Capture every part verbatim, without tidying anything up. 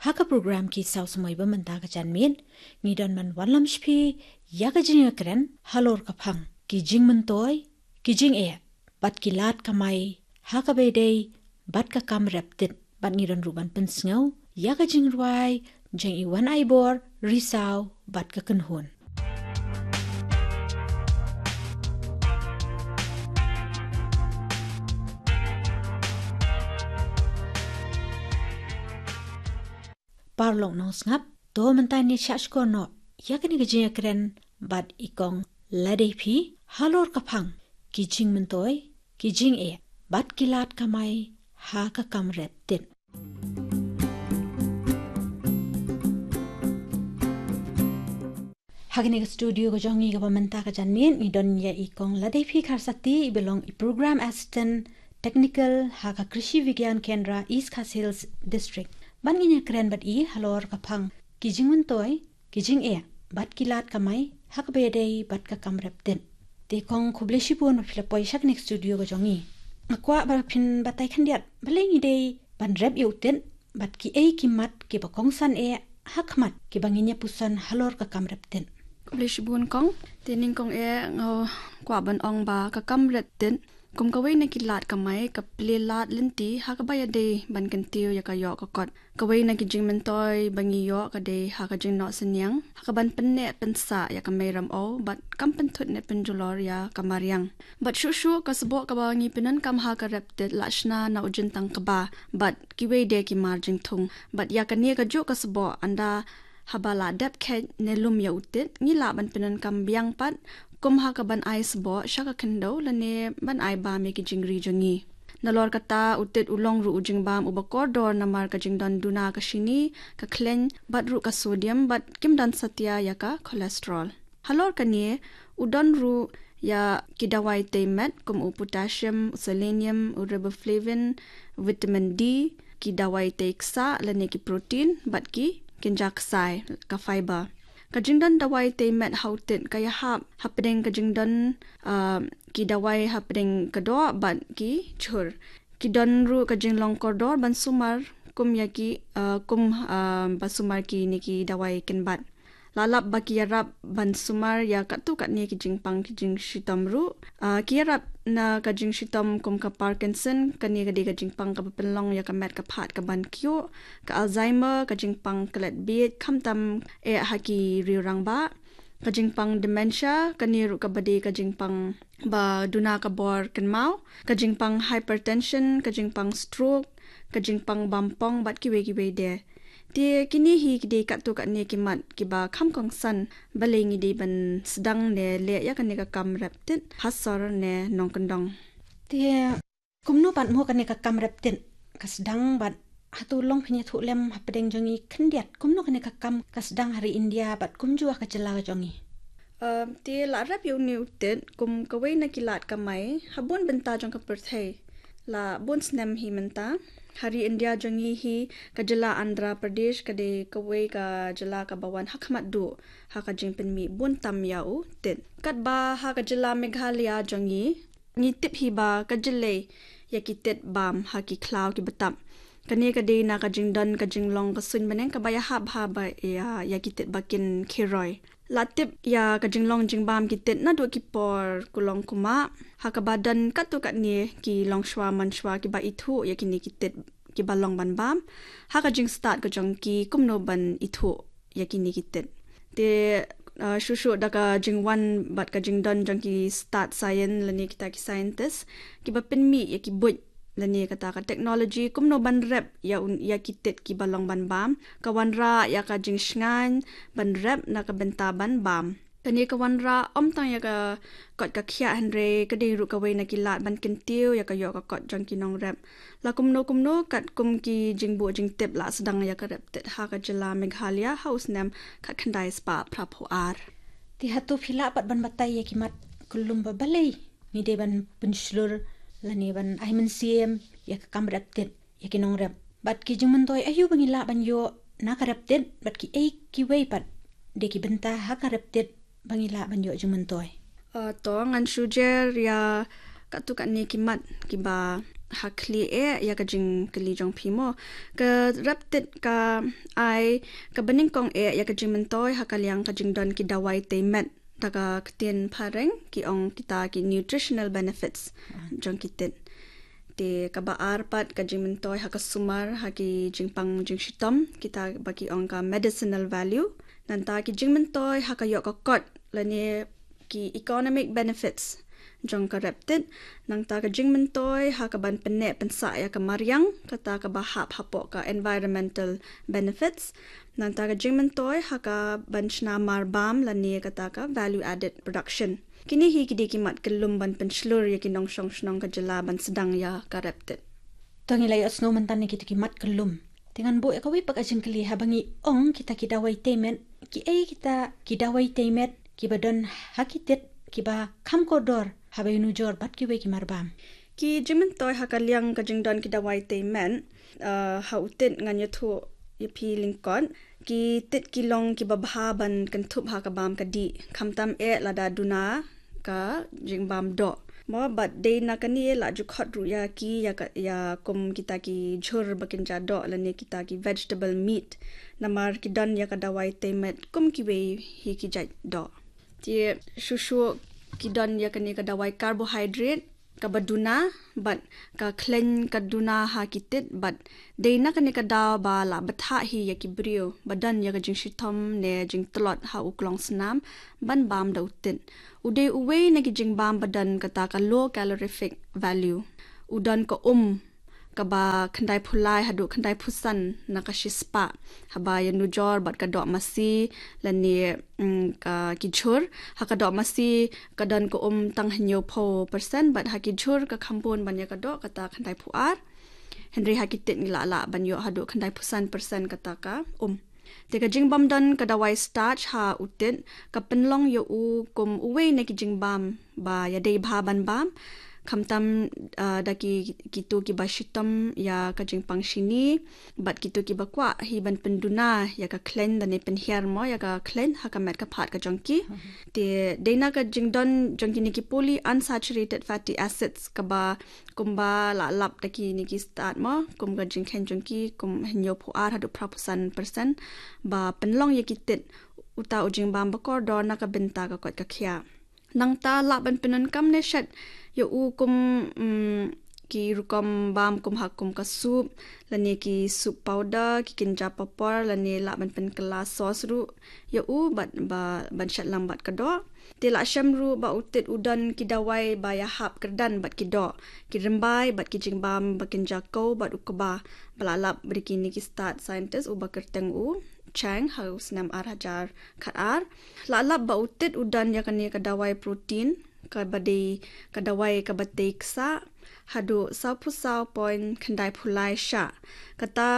Ha ka program Ki Saw Samoi ba mynta ka janmiet, ngi don ban wanlam sha phi ïa ka jingïakren halor ka phang ki jingmyntoi, ki jingeh bad ki lad kamai ha kaba ïadei bad ka kam rep tit, bad ngi don ruh ban pynsngew ïa ka jingrwai jong i Wan Aibor Risaw bad ka kynhun. Paralok nongsngap, to mynta ngin ïa shah shkor noh ïa kane ka jingïakren bad i Kong Ladei Phi halor ka phang ki jingmyntoi, ki jingeh bad ki lad kamai ha ka kam rep tit. Ha kane ka studio ka jong ngi kaba mynta ka janmiet ngi don ïa i Kong Ladei Phi Kharsati, i ba long i Program Assistant Technical ha ka Krishi Vigyan Kendra, East Khasi Hills District, ban ngin ïakren bad i halor ka phang ki jingmyntoi, ki jingeh bad ki lad kamai ha kaba ïadei bad ka kam rep tit. Te Kong, khublei shibun ba phi la poi sha kane ka studio ka jong ngi. Nga kwah ba phin batai khyndiat balei ngi dei ban rep ïa u tit bad kiei ki mat kiba kongsan eh ha khmat kiba ngin ïa puson halor ka kam rep tit. Khublei shibun Kong. Te nyngkong eh nga kwah ban ong ba ka kam rep tit kum kawei na ki lad kamai ka plie lad lynti ha kaba ïadei ban kyntiew ïa ka ïoh ka kot. Kawei na ki jingmyntoi ba ngi ïoh ka dei ha ka jingnoh synñiang ha kaban pynneh pynsah ïa ka mei ramew bad kam pynthut ne pynjulor ïa ka mariang. Bad shuh shuh ka sboh kaba ngi pyndonkam ha ka rep tit la shna na u jingtang kba bad kiwei de ki mar jingthung. Bad ïa kane kajuh ka sboh, ynda haba la dep kheit ne lum ïa u tit, ngi lah ban pyndonkam biang pat kum ha kaban ai sboh sha ka khyndew lane ban ai bam ïa ki jingri jong ngi. Nalor kata, u tit u long ruh u jingbam uba kordor namar ka jingdon duna ka shini, ka khleiñ bad ruh ka sodium, bad kim don satia ïa ka cholesterol. Halor kane, u don ruh ïa ki dawai tei met kum u potassium, u selenium, u riboflavin, vitamin D, ki dawai tei ksah lane ki protein bad ki kynja ksai, ka fiber. Ka jingdon dawai tei met ha u tit ka ïahap hapdeng ka jingdon, ah, ki dawai hapdeng ka doh bad ki jhur. Ki don ruh ka jinglong kordor ban sumar kum ïa ki, ah, kum, ah, ba sumar kine ki dawai kynbat. La lap ba ki ïarap ban sumar ïa katto katne ki jingpang ki jingshitom ruh. Ah, ki ïarap na ka jingshitom kum ka Parkinson, kane ka dei ka jingpang kaba pynlong ïa ka met ka phad kaban kyiuh, ka Alzheimer, ka jingpang klet biej, khamtam eh ha ki riew rangbah, ka jingpang dementia, kane ruh kaba dei ka jingpang ba duna ka bor kynmaw, ka jingpang hypertension, ka jingpang stroke, ka jingpang bampong bad kiwei kiwei de. Te kine hi ki dei katto katne ki mat kiba kham kongsan balei ngi dei ban sdang ne leh ïa kane ka kam rep tit ha sor ne nongkyndong. Te kumno pat mo kane ka kam rep tit ka sdang bad hato long phin ïathuh lem hapdeng jong ngi khyndiat kumno kane ka kam ka sdang ha ri India bad kumjuh ha ka jylla ka jong ngi? Um, te la rep ïa une u tit kum kawei na ki lad kamai ha bun bynta jong ka pyrthei. La bun snem hi mynta ha ri India jong ngi hi, ka jylla Andhra Pradesh ka dei kawei ka jylla kaba wan ha khmat duh ha ka jingpynmih bun tam ïa u tit. Katba ha ka jylla Meghalaya jong ngi, ngi tip hi ba ka jyllei ïa ki tit bam ha ki khlaw kiba tap. Kane ka dei na ka jingdon ka jinglong ka suiñ bneng kaba ïahap ha ba ïa, ïa ki tit ba kin khie roi. La tip ïa ka jinglong jingbam ki tit naduh ki por kulong kumah, ha kaba don katto katne ki longshuwa manshuwa kiba ithuh ïa kine ki tit kiba long ban bam ha ka jingstad ka jong ki kumno ban ithuh ïa kine ki tit. Te, uh, shuh shuh da ka jingwan bad ka jingdon jong ki stad science lane kita ki scientist kiba pynmih ïa ki buit lane kata ka technology kumno ban rep ïa un, ïa ki tit kiba long ban bam, ka wanrah ïa ka jingshngaiñ ban rep na ka bynta ban bam. Kane ka wanrah ym tang ïa ka kot ka khiah hynrei ka dei ruh kawei na ki lad ban kyntiew ïa ka ïoh ka kot jong ki nongrep. La kumno kumno katkum ki jingbuh jingtip la sdang ïa ka rep tit ha ka jylla Meghalaya ha u snem khatkhyndai spah phraphew ar. Te hato phi lah pat ban batai ïa ki mat kyllum ba balei ngi dei ban pynshlur lane ban ai mynsiem ïa ka kam rep tit ïa ki nongrep? Bad ki jingmyntoi aïu ba ngi lah ban ïoh na ka rep tit bad kiei kiwei pat de ki bynta ha ka rep tit ba ngi lah ban ïoh jingmyntoi? Uh, to ngan shu jer ïa katto katne ki mat kiba ha khlieh eh ïa ka jingkylli jong phi mo. Ka rep tit ka ai kaba nyngkong eh ïa ka jingmyntoi ha ka liang ka jingdon ki dawai tei met da ka ktien phareng ki ong kita ki nutritional benefits jong ki tit. Te kaba ar pat ka jingmyntoi ha ka sumar ha ki jingpang jingshitom kita ba ki ong ka medicinal value. Nangta ki jingmyntoi ha ka ïoh ka kot lane ki economic benefits jong ka rep tit. Nangta ka jingmyntoi ha ka ban pynneh pynsah ïa ka mariang kata kaba hap hapoh ka environmental benefits. Nangta ka jingmyntoi ha ka ban shna mar bam lane kata ka value added production. Kine hi ki dei ki mat kyllum ban pynshlur ïa ki nongshong shnong ka jylla ban sdang ïa ka rep tit. To ngi la ïohsngew mynta na kita ki mat kyllum. Te ngan buh ïa kawei pat ka jingkylli haba ngi ong kita ki dawai tei met, kiei kita ki dawai tei met kiba don ha ki tit kiba kham kordor haba ïanujor bad kiwei ki mar bam. Ki jingmyntoi ha ka liang ka jingdon ki dawai tei met, uh, ha u tit ngan ïathuh ïa phi lyngkot. Ki tit ki long kiba bha ban kynthup ha ka bam ka dih. Khamtam eh lada duna ka jingbam doh. Mo bad dei na kane la ju khot ruh ïa ki ïa ka, ïa kum kita ki jhur ba kin ja doh lane kita ki vegetable meat. Namar ki don ïa ka dawai tei met kum kiwei hi ki jait doh. Te shuh shuh ki don ïa kane ka dawai carbohydrate kaba duna bad ka khleiñ ka duna ha ki tit bad dei na kane ka daw ba la bthah hi ïa ki briew ba don ïa ka jingshitom ne jingtlot ha u klongsnam ban bam da u tit. U dei uwei na ki jingbam ba don kata ka low calorific value. U don ka um kaba khyndai phew lai haduh khyndai phew san na ka shispah haba ïanujor bad ka doh masi lane, mm, ka ki jhur. Ha ka doh masi ka don ka um tang hynñiew phew percent bad ha ki jhur ka kham bun ban ïa ka doh kata khyndai phew ar. Hynrei ha ki tit ngi lah lah ban ïoh haduh khyndai phew san percent kata ka um. Te ka jingbym don ka dawai starch ha u tit ka pynlong ïa u kum uwei na ki jingbam ba ïadei bha ban bam. Khamtam, ah, da ki, kito kiba shitom ïa ka jingpang shini bad kito kiba kwah hi ban pynduna ïa ka khleiñ lane pynhiar mo ïa ka khleiñ ha ka met ka phad ka jong ki. Te dei na ka jingdon jong kine ki polyunsaturated fatty acids kaba kumba la lap da kine ki stad mo, kum ka jingkheiñ jong ki kum hynñiew phew ar haduh phra phew san percent ba pynlong ïa ki tit uta u jingbam ba kordor na ka bynta ka koit ka khiah. Nangta lah ban pyndonkam ne shet ïa u kum, mm, ki rukom bam kum ha kum ka soup lane ki soup powder, ki kynja papor lane lah ban pynkylla sauce ruh ïa u bad ba ban shet lang bad ka doh. Te lah shem ruh ba u tit u don ki dawai ba ïahap kyrdan bad ki doh, ki rymbai bad ki jingbam ba kynja kew bad u kba ba la lap da kine ki stad scientist uba kyrteng u Chang ha u snem ar hajar khat ar. Lah lap ba u tit u don ïa kane ka dawai protein kaba dei ka dawai kaba tei ksah haduh saw phew saw point khyndai phew lai shah. Kata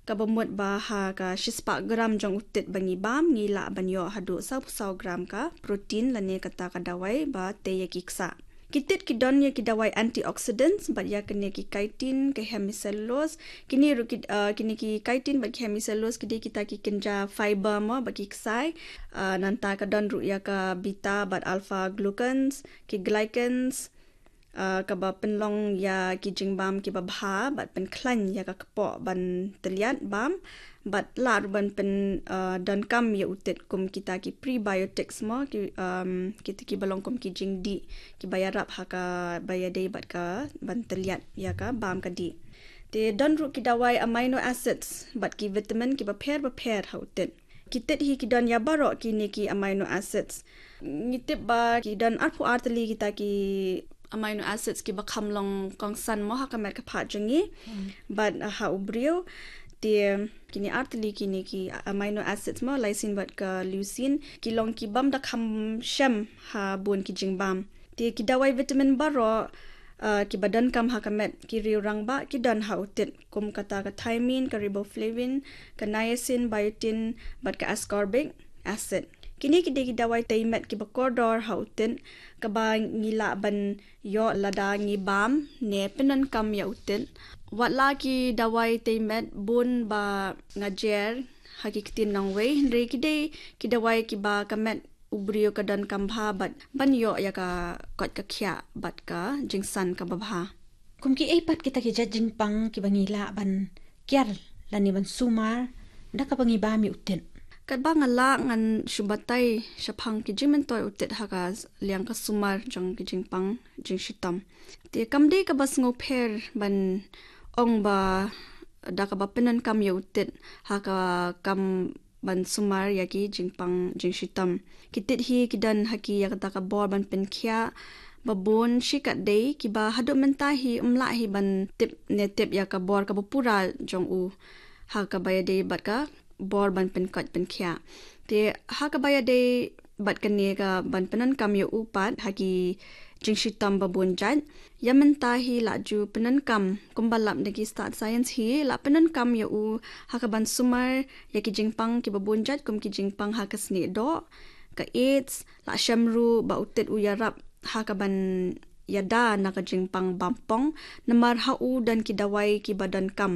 kaba mut ba ha ka shispah gram jong u tit ba ngi bam ngi lah ban ïoh haduh saw phew saw gram ka protein lane kata ka dawai ba tei ïa ki ksah. Ki tit ki don ïa ki dawai antioxidants bad ïa kine ki chitin, ka hemicellulose. Kine ruh ki, ah, kine ki chitin bad ki hemicellulose ki dei kita ki kynja fiber mo bad ki ksai. Ah, nangta ka don ruh ïa ka beta bad alpha glucans, ki glycans, ah, kaba pynlong ïa ki jingbam kiba bha bad pynkhlaiñ ïa ka kpoh ban tylliat bam. Bad lah ruh ban pyn, ah, donkam ïa u tit kum kita ki prebiotics mo, ki, um, kita kiba long kum ki jingdih kiba ïarap ha kaba ïadei bad ka ban tylliat ïa ka bam ka dih. Te don ruh ki dawai amino acids bad ki vitamin kiba pher ba pher ha u tit. Ki tit hi ki don ïa baroh kine ki amino acids. Ngi tip ba ki don arphew ar tylli kita ki amino acids kiba kham long kongsan mo ha ka met ka phad jong ngi. Hmm. Bad, uh, ha u briew. Te kine ar tylli kine ki amino acids mo, lysine bad ka leucine, ki long kibym da kham shem ha bun ki jingbam. Te ki dawai vitamin baroh, uh, kiba donkam ha ka met ki riew rangbah ki don ha u tit. Kum kata ka thiamine, ka riboflavin, ka niacin, biotin, bad ka ascorbic acid. Kine ki dei ki dawai tei met kiba kordor ha u tit, kaba ngi lah ban ïoh lada ngi bam ne pyndonkam ïa u tit. Wat la ki dawai tei met bun ba nga jer ha ki ktien nongwei, hynrei ki dei ki dawai kiba ka met u briew ka donkam bha bad ban ïoh ïa ka koit ka khiah bad ka jingsan kaba bha. Kum kiei pat kita ki jait jingpang kiba ngi lah ban kiar lane ban sumar da kaba ngi bam ïa u tit? Katba nga lah ngan shu batai shaphang ki jingmyntoi u tit ha ka liang ka sumar jong ki jingpang jingshitom. Te kam dei kaba sngewpher ban ong ba da kaba pyndonkam ïa u tit ha ka kam ban sumar ïa ki jingpang jingshitom. Ki tit hi ki don ha ki ïa kata ka bor ban pynkhiah ba bun shikatdei, kiba haduh mynta hi ym lah hi ban tip ne tip ïa ka bor kaba pura jong u ha kaba ïadei bad ka bor ban pynkoit pynkhiah. Te ha kaba ïadei bad kane ka ban pyndonkam ïa u pat ha ki jingshitom ba bun jait, ïa mynta hi la ju pyndonkam, kumba lap da ki stad science hi la pyndonkam ïa u ha ka ban sumar ïa ki jingpang kiba bun jait, kum ki jingpang ha ka snieh doh, ka AIDS, la shem ruh ba u tit u ïarap ha ka ban ïada na ka jingpang bampong, namar ha u don ki dawai kiba donkam,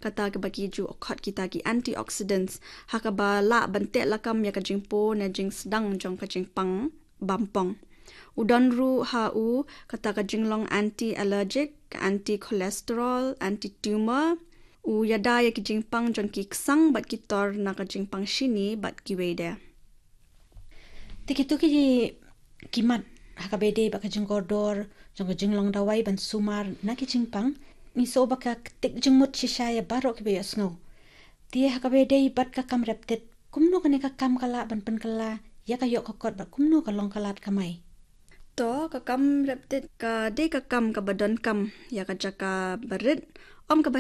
kata kaba ki ju khot kita ki antioxidants, ha kaba lah ban teh lakam ïa ka jingpur ne jingsdang jong ka jingpang bampong. U don ruh ha u kata ka jinglong anti-allergic, ka anti-cholesterol, anti-tumor. U ïada ïa ki jingpang jong ki ksang bad ki tor na ka jingpang shini bad kiwei de. Te kito ki, ki mat ha kaba ïadei bad ka jingkordor jong ka jinglong dawai ban sumar na ki jingpang, ngi sngew ba ka ktik jingmut shisha ïa baroh kiba ïohsngew. Te ha kaba ïadei bad ka kam rep tit, kumno kane ka kam ka lah ban pynkylla ïa ka ïoh ka kot bad kumno ka long ka lad kamai? To, ka kam rep tit ka dei ka kam kaba donkam ïa ka jaka barit, ym kaba